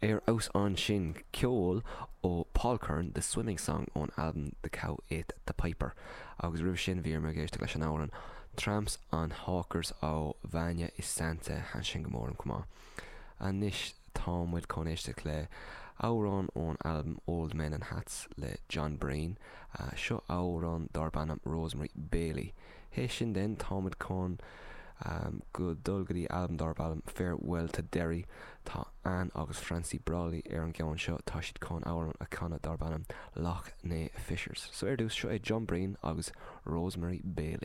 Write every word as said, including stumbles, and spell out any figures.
Ar fheabhas ansin ceol ó Paul Curran The Swimming Song ón albam The Cow Ate the Piper agus roimhe sin bhí muid ag éisteacht leis an amhrán Tramps and Hawkers ó Vanya is Santa thaitin sin go mór liom chomh maith. Anois tá muid chun éisteacht le amhrán ón albam Old Men in Hats le John Breen, seo amhrán darb ainm Rosemary Bailey. Théis sin den táimid chun um, go dul go dtí albam darb ainm Farewell to Derry tá Anne agus Francie Brolly ar an gceann seo tá siad chun amhrán a chanadh darb ainm Lough Neagh Fishers. So ar dtús seo é John Breen agus Rosemary Bailey.